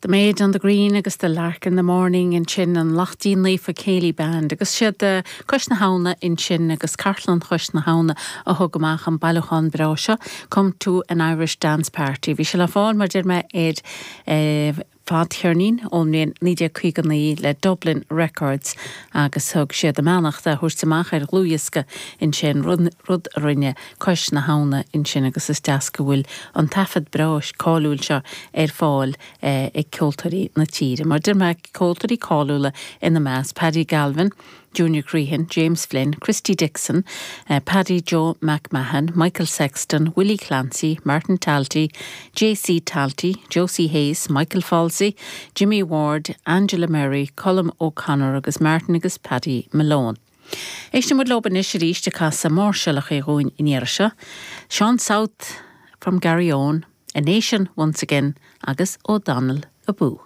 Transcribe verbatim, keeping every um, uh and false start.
The Maid on the Green agus The Lark in the Morning ansin an Laichtín Naofa Céilí Band agus siad uh, Cois na hAbhna ansin agus Cartlann Chois na hAbhna a thug amach an bailiúchán breá seo Come to an Irish Dance Party. Bhí sé le fáil mar deir mé ar eh, fadcheirnín ón mbliain naoi déag caoga naoi le Dublin Records agus thug siad a mbeannacht a thabhairt amach ar dhlúthdhiosca ansin rud a rinne Cois na hAbhna ansin agus is deas go bhfuil an taifead breá cáiliúil seo ar fáil eh, ag ceoltóirí na tíre. Mar deir mé ceoltóirí cáiliúla ina measc Paddy Galvin, Junior Crehan, James Flynn, Christy Dixon, uh, Paddy Joe McMahon, Michael Sexton, Willie Clancy, Martin Talty, J.C. Talty, Josie Hayes, Michael Falsey, Jimmy Ward, Angela Murray, Colm O'Connor agus Martin agus Paddy Malone. Éistimis leo anois arís ag casadh máirseálacha dhúinn in iarse, Sean South from Garryowen, A Nation Once Again agus O'Donnell Abú.